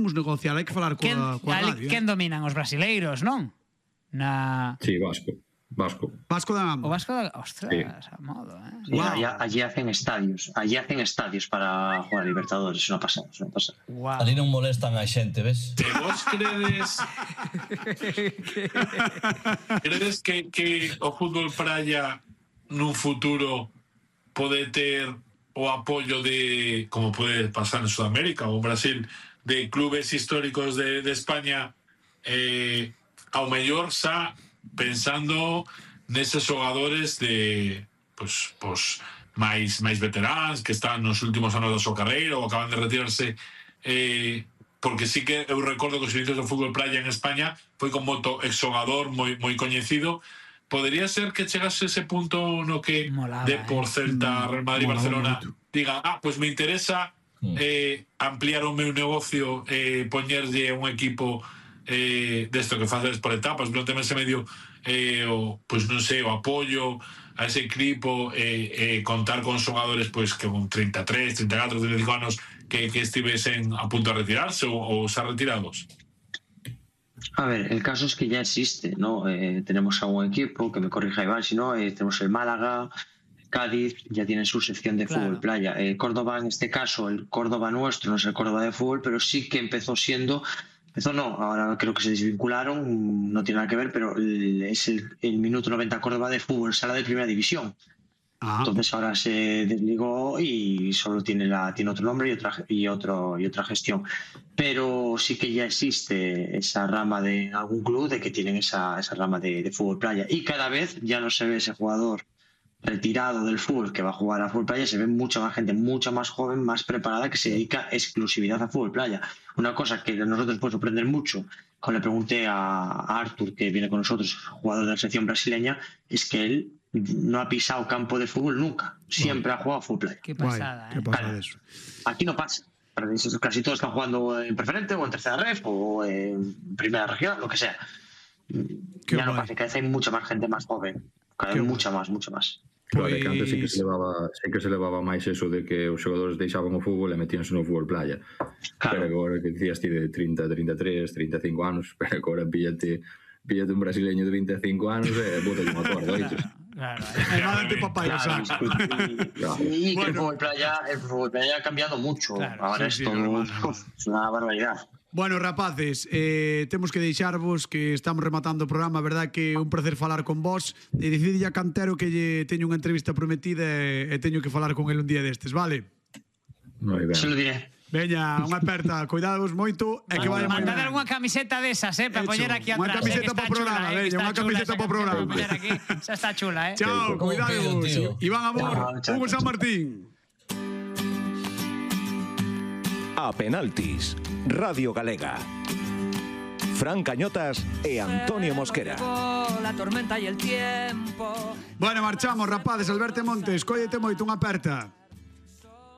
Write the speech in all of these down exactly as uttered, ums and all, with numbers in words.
podemos negociar, hai que falar coa, coa radio. Quen dominan os brasileiros, non? Na... Sí, Vasco. Vasco. Vasco da Gama. O Vasco da... Ostras, sí. A modo, eh. Sí, wow. allí, allí hacen estadios. Allí hacen estadios para jugar a Libertadores. Eso non pasa, eso non pasa. Wow. Ali non molestan a xente, ves? Te vos credes... credes que, que o fútbol praia nun futuro pode ter o apoio de, como pode pasar en Sudamérica ou en Brasil, de clubes históricos de, de España, eh, ao mellor xa pensando neses xogadores de pues, pues, máis, máis veteráns que están nos últimos anos da súa carreira ou acaban de retirarse, eh, porque sí que eu recordo que os inicios do fútbol playa en España foi con moito exxogador moi, moi coñecido. Podería ser que chegase ese punto no que Molaba, de por Celta, Real Madrid, Barcelona diga, ah, pues me interesa eh, ampliar o meu negocio, eh, poñerlle un equipo eh, desto que faces por etapas, durante ese medio eh, o, pues non sei, o apoio a ese equipo, eh, eh, contar con xogadores pues, que con treinta e tres, treinta e catro, treinta e cinco anos que, que estivesen a punto de retirarse ou, ou xa retirados. A ver, el caso es que ya existe, ¿no? Eh, tenemos a un equipo, que me corrija Iván, si no, eh, tenemos el Málaga, Cádiz, ya tienen su sección de claro. fútbol playa. Eh, Córdoba, en este caso, el Córdoba nuestro, no es el Córdoba de fútbol, pero sí que empezó siendo, empezó no, ahora creo que se desvincularon, no tiene nada que ver, pero el, es el, el minuto noventa Córdoba de fútbol, sala de primera división. Ajá. Entonces ahora se desligó y solo tiene la tiene otro nombre y otra y otro y otra gestión, pero sí que ya existe esa rama de algún club de que tienen esa, esa rama de, de fútbol playa, y cada vez ya no se ve ese jugador retirado del fútbol que va a jugar a fútbol playa, se ve mucha más gente, mucha más joven, más preparada, que se dedica exclusividad a fútbol playa. Una cosa que a nosotros puede sorprender mucho, cuando le pregunté a, a Artur, que viene con nosotros, jugador de la selección brasileña, es que él no ha pisado campo de fútbol nunca, siempre bueno. ha jugado fútbol playa. Qué pasada, Guay, ¿eh? ¿Qué pasa de eso? Aquí no pasa, casi todos están jugando en preferente o en tercera ref o en primera región, lo que sea. Qué ya guay. No pasa, cada vez hay mucha más gente más joven, cada vez mucha más, mucha más. Claro, pues... que antes sí que se levaba, sí que se levaba máis eso de que os xogadores deixaban o fútbol e metíanse no fútbol playa. Claro. Pero agora que dicías ti de trinta, trinta e tres, trinta e cinco anos, pero agora píllate, píllate un brasileño de vinte e cinco anos e bótate un acordo, oiches. Claro, eh. papá, claro, claro. Y que bueno. el fútbol playa, el fútbol playa ha cambiado mucho. Claro, ahora sí, es todo sí, es una barbaridad. Bueno, rapaces, eh, temos que deixarvos que estamos rematando o programa, verdad que é un placer falar con vos, e decidille a Cantero que lle teño unha entrevista prometida e, e teño que falar con el un día destes, vale? Moi ben. Se lo diré. Veña, unha aperta, cuidadvos moito e que vaya moi ben. Mandade algunha camiseta desas, eh, para poñer aquí atrás. Unha camiseta para o programa, veña, unha camiseta para o programa. Xa está chula, eh. Chao, cuidadvos. Iván Amor, Hugo San Martín. A Penaltis, Radio Galega. Fran Cañotas e Antonio Mosquera. La tormenta y el tiempo. Bueno, marchamos, rapaces. Alberto Montes, cóllete moito, unha aperta.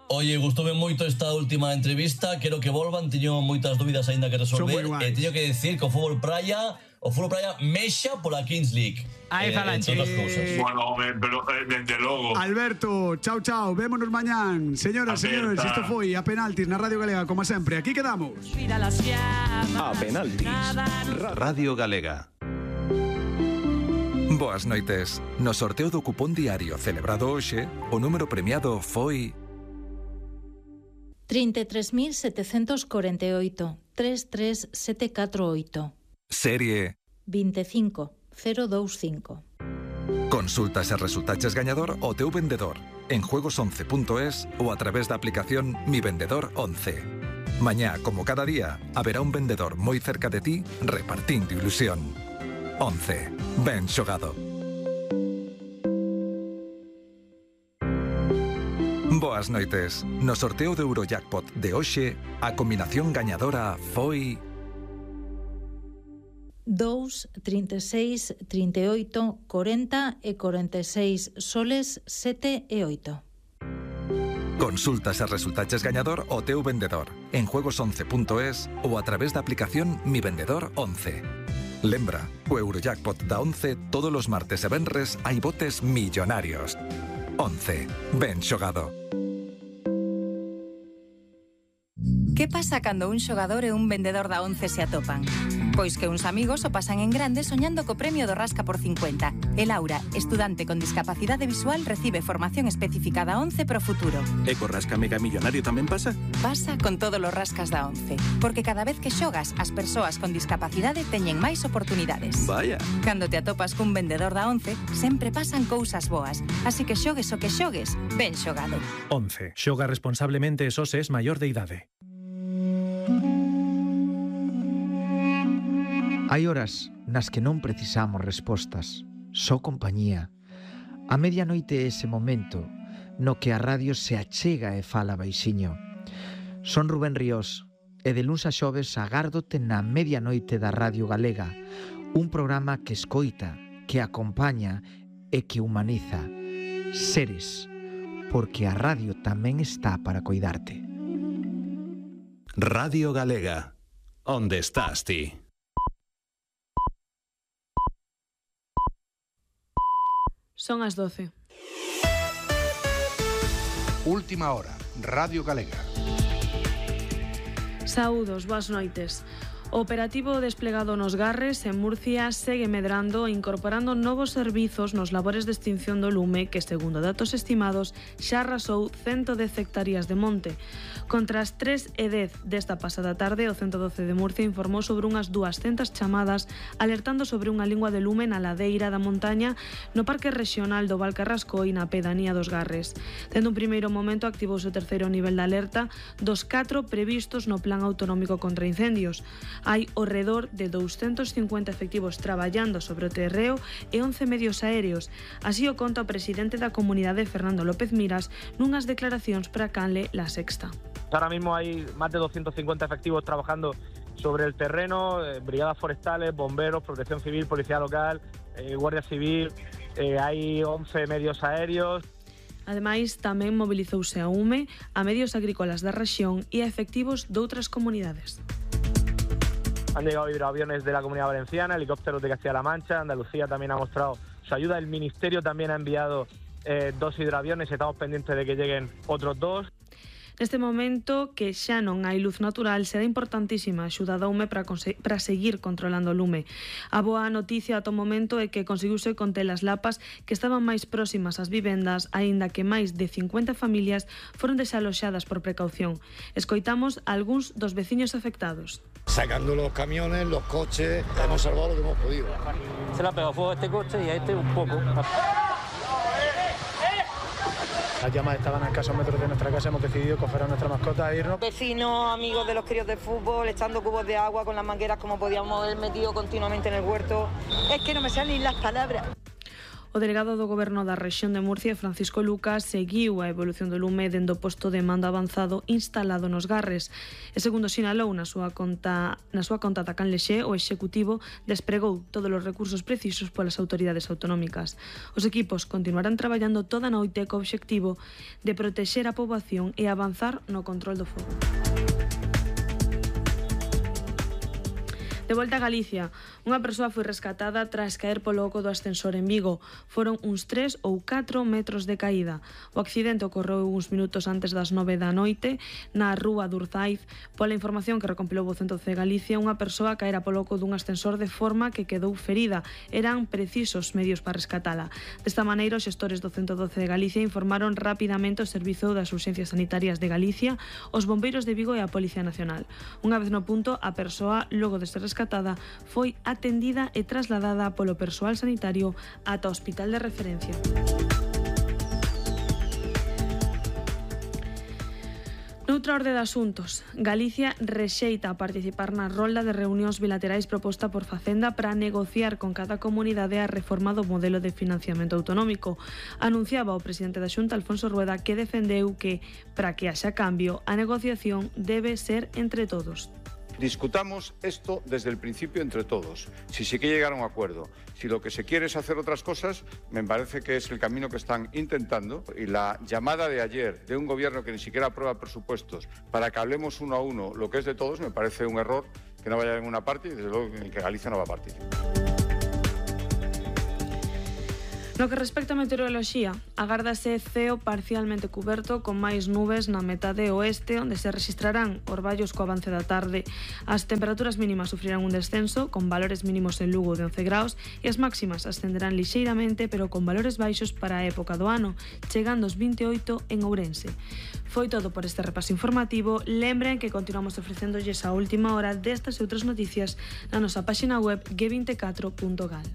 Oye, gustoume moito esta última entrevista. Quero que volvan, teño moitas dúbidas aínda que resolver. E teño que decir que o fútbol praia, o fútbol praia mexa pola Kings League. Aí eh, falache. Eh... Bueno, pero desde logo. Alberto, chao, chao. Vémonos mañán. Señoras, señores, isto foi A Penaltis na Radio Galega, como sempre. Aquí quedamos. A Penaltis, Radio Galega. Boas noites. No sorteo do cupón diario celebrado hoxe, o número premiado foi trinta e tres mil setecentos corenta e oito, tres tres sete catro oito. Serie vinte e cinco cero dous cinco. Consultas e resultaches gañador o teu vendedor en juegos once punto es ou a través da aplicación Mi Vendedor once. Mañá, como cada día, haberá un vendedor moi cerca de ti repartindo ilusión. once. Ben xogado. Boas noites. No sorteo do Eurojackpot de hoxe, a combinación gañadora foi dous, trinta e seis, trinta e oito, corenta e corenta e seis soles, sete e oito. Consultas e resultaches gañador o teu vendedor en juegos once punto es ou a través da aplicación Mi Vendedor once. Lembra, o Eurojackpot da once todos os martes e venres hai botes millonarios. once. Ben xogado. Que pasa cando un xogador e un vendedor da once se atopan? Pois que uns amigos o pasan en grande soñando co premio do Rasca por cincuenta. E Laura, estudante con discapacidade visual, recibe formación específica da once pro futuro. E co Rasca Mega Millonario tamén pasa? Pasa con todos os rascas da once. Porque cada vez que xogas, as persoas con discapacidade teñen máis oportunidades. Vaya. Cando te atopas cun vendedor da once, sempre pasan cousas boas. Así que xogues o que xogues, ben xogado. once. Xoga responsablemente e só se es maior de idade. Hai horas nas que non precisamos respostas, só compañía. A medianoite é ese momento no que a radio se achega e fala baixiño. Son Rubén Ríos e de luns a xoves agárdote na medianoite da Radio Galega, un programa que escoita, que acompaña e que humaniza. Seres, porque a radio tamén está para coidarte. Radio Galega, onde estás ti? Son as doce. Última hora, Radio Galega. Saúdos, boas noites. O operativo desplegado nos Garres en Murcia segue medrando e incorporando novos servizos nos labores de extinción do lume que, segundo datos estimados, xa arrasou ciento dez hectáreas de monte. Contra as tres e dez desta pasada tarde, o ciento doce de Murcia informou sobre unhas duascentas chamadas alertando sobre unha lingua de lume na ladeira da montaña no Parque Regional do Val Carrasco e na pedanía dos Garres. Dende un primeiro momento activouse o terceiro nivel de alerta dos catro previstos no Plan Autonómico contra Incendios. Hai ao redor de douscentos cincuenta efectivos traballando sobre o terreo e once medios aéreos. Así o conta o presidente da comunidade, Fernando López Miras, nunhas declaracións para Canle La Sexta. Ahora mismo hay más de doscientos cincuenta efectivos trabajando sobre el terreno, eh, brigadas forestales, bomberos, protección civil, policía local, eh, guardia civil, eh, hay once medios aéreos. Ademais, tamén mobilizouse a UME, a medios agrícolas da rexión e a efectivos de outras comunidades. Han llegado hidroaviones de la Comunidad Valenciana, helicópteros de Castilla-La Mancha, Andalucía también ha mostrado su ayuda, el Ministerio también ha enviado eh, dos hidroaviones, estamos pendientes de que lleguen otros dos. Neste momento, que xa non hai luz natural, será importantísima a axuda da UME para, para seguir controlando o lume. A boa noticia ata o momento é que conseguiuse conter as lapas que estaban máis próximas ás vivendas, aínda que máis de cincuenta familias foron desaloxadas por precaución. Escoitamos a algúns dos veciños afectados. Sacando los camiones, los coches, hemos salvado lo que hemos podido. Se le ha pegado fuego a este coche y a este un poco. Las llamas estaban a escasos metros de nuestra casa, hemos decidido coger a nuestra mascota e irnos. Vecinos, amigos de los críos de fútbol, echando cubos de agua con las mangueras como podíamos haber metido continuamente en el huerto. Es que no me salen las palabras. O delegado do Goberno da rexión de Murcia, Francisco Lucas, seguiu a evolución do lume dende o posto de mando avanzado instalado nos Garres. E segundo sinalou na súa conta, na súa conta da Canlexé, o executivo despregou todos os recursos precisos polas autoridades autonómicas. Os equipos continuarán traballando toda a noite co obxectivo de protexer a poboación e avanzar no control do fogo. De volta a Galicia, unha persoa foi rescatada tras caer polo oco do ascensor en Vigo. Foron uns tres ou catro metros de caída. O accidente ocorreu uns minutos antes das nove da noite na rúa Durzaiz. Pola información que recompilou o Centro de Galicia, unha persoa caera polo oco dun ascensor de forma que quedou ferida. Eran precisos medios para rescatala. Desta maneira, os xestores do ciento doce de Galicia informaron rapidamente o Servizo das Urxencias Sanitarias de Galicia, os bombeiros de Vigo e a Policía Nacional. Unha vez no punto, a persoa, logo de ser rescatada, foi atendida e trasladada polo persoal sanitario ata o hospital de referencia. Noutra orde de asuntos, Galicia rexeita a participar na rolda de reunións bilaterais proposta por Facenda para negociar con cada comunidade a reforma do modelo de financiamento autonómico. Anunciaba o presidente da Xunta, Alfonso Rueda, que defendeu que, para que haxa cambio, a negociación debe ser entre todos. Discutamos esto desde el principio entre todos, si se quiere llegar a un acuerdo. Si lo que se quiere es hacer otras cosas, me parece que es el camino que están intentando. Y la llamada de ayer de un gobierno que ni siquiera aprueba presupuestos para que hablemos uno a uno lo que es de todos, me parece un error que no vaya en una parte y desde luego en que Galicia no va a participar. No que respecta a meteoroloxía, agárdase ceo parcialmente cuberto con máis nubes na metade oeste, onde se registrarán orballos co avance da tarde. As temperaturas mínimas sufrirán un descenso, con valores mínimos en Lugo de once graus, e as máximas ascenderán lixeiramente, pero con valores baixos para a época do ano, chegando aos vinte e oito en Ourense. Foi todo por este repaso informativo. Lembren que continuamos ofrecéndolles a última hora destas e outras noticias na nosa páxina web g vinte e catro punto gal.